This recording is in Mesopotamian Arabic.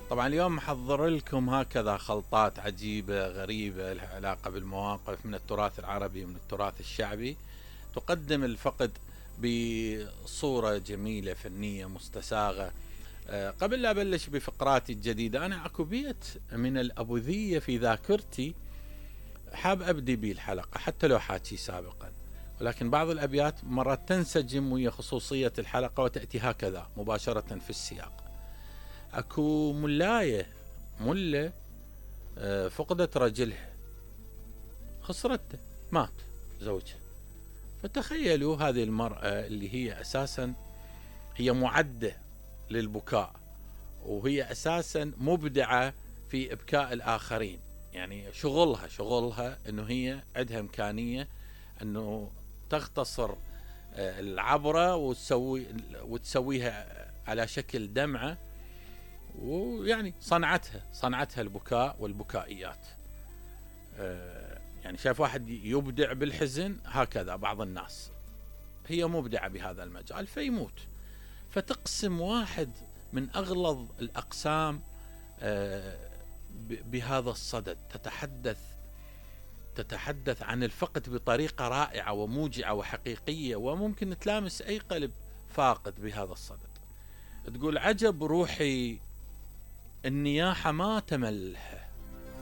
طبعا اليوم محضر لكم هكذا خلطات عجيبة غريبة لها علاقة بالمواقف من التراث العربي ومن التراث الشعبي، تقدم الفقد بصورة جميلة فنية مستساغة. قبل لا أبلش بفقراتي الجديدة، أنا اكو بيت من الأبوذية في ذاكرتي حاب أبدي به الحلقة حتى لو حاكي سابقا، ولكن بعض الأبيات مرات تنسجم ويا خصوصية الحلقة وتأتي هكذا مباشرة في السياق. اكو ملاية فقدت رجلها، خسرته، مات زوجها. فتخيلوا هذه المرأة اللي هي أساسا هي معدة للبكاء، وهي أساسا مبدعة في إبكاء الآخرين، يعني شغلها أنه هي عندها إمكانية أنه تختصر العبرة وتسويها على شكل دمعة، ويعني صنعتها البكاء والبكائيات. يعني شايف واحد يبدع بالحزن، هكذا بعض الناس هي مبدعة بهذا المجال فيموت، فتقسم واحد من أغلظ الأقسام بهذا الصدد، تتحدث عن الفقد بطريقة رائعة وموجعة وحقيقية، وممكن تلامس أي قلب فاقد بهذا الصدد. تقول: عجب روحي النياحة ما تملها،